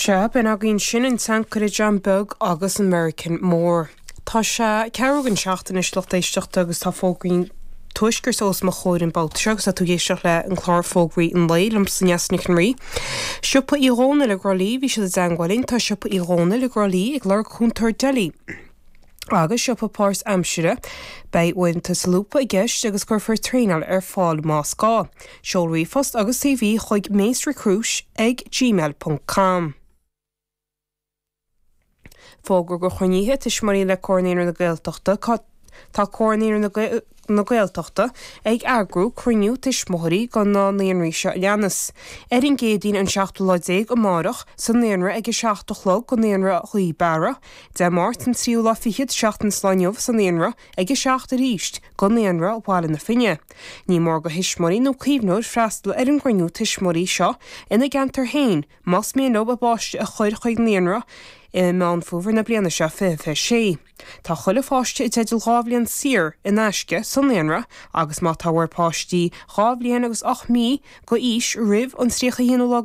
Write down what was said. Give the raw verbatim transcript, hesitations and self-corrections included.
Sea, b'in againn sin an tSeanchara John Beag agus an Meiriceán Mór. Tá sé ceathrú don seacht anois lucht éisteachta agus tá fógraí tuaiscirt os mo chomhair an babhta seo agus tá tú ag éisteacht le an clár Fógraí an Lae liomsa Neasa Nic an Rí. Siopa Uí Dhónaill i dTrá Lí bhí siad i dteagmháil linn tá siopa Uí Dhónaill i dTrá Lí ag lorg cúntóir deli. Agus siopa páirtaimseartha beidh uaireanta solúbtha i gceist agus cuirfear traenáil ar fáil más gá. Seol ríomhphost agus CV chuig macerecruit ag gmail.com. Fógra go chruinnithe tuismitheoirí le Comhar Naíonraí na Gaeltachta Tá Comhar Naíonraí na Gaeltachta ag eagrú cruinniú tuismitheoirí go na naíonraí seo leanas. Ar an gCéadaoin an seachtú lá déag amárach sa naíonra ag a seacht a chlog go naíonra Ghaoth Beara, Dé Máirt an tríú lá fichead seachtain ón lá inniu sa naíonra ag a seacht arís go naíonra Bhaile na Finne. Ní mór go thuismitheoirí nó caomhnóir freastal ar an gcruinniú tuismitheoirí seo ina gceantar féin, más mian leo a bpáiste a chur chuig naíonra i Meán Fómhair na bliana seo fiche fiche sé. Tá chuile pháiste i dteideal dhá bhliain saor in aisce sa naíonra agus má tá bhur bpáistí dhá bhliain agus ocht mí go aois roimh an tríocha haon lá